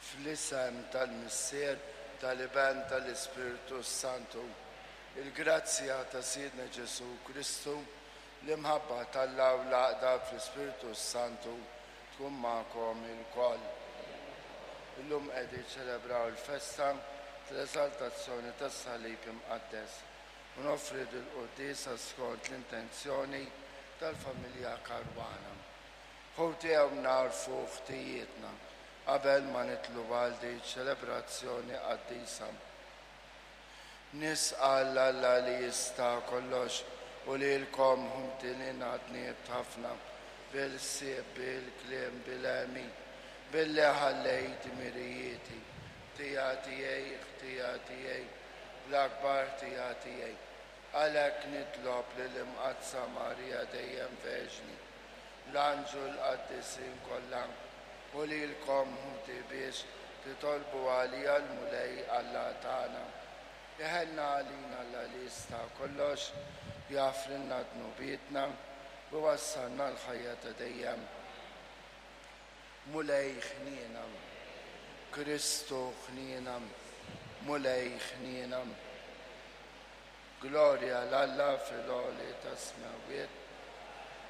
Fl-isem tal-Missier, tal-Iben, tal-Ispirtu s-Santu. Il-grazzja ta' Sidna Ġesù Kristu, l-imħabba t'Alla u l-għaqda fl-Ispirtu s-Santu tkun magħkom ilkoll. Illum qegħdin niċċelebraw il-festa tal-Eżaltazzjoni tas-Salib Imqaddes u noffri dil-quddiesa skont l-intenzjoni tal-familja Caruana. Ħuti hawn nagħrfu ħtijietna qabel ma nidħlu għal din ċelebrazzjoni qaddisa. Nisqal 'l Alla li jista' kollox u lilkom ħuti li dnibt ħafna bil-ħsieb, bil-kliem, bil-għemil, billi ħallejt dmirijieti. Ħtija tiegħi, ħtija tiegħi, l-akbar ħtija tiegħi. Għalhekk nitlob lill-Imqaddsa Marija dejjem Verġni, l-anġlu l-qaddisin kollha, u lilkom ħuti biex titolbu għalija l-Mulej Alla tagħna. Iħenna għalina Alla li jista' kollox, jaħfrilna dnubietna u jwassalna l-ħajja ta' dejjem. Mulej ħniena. Kristu ħniena. Mulej ħniena. Glorja 'l Alla fil-għoli tas-smewwiet.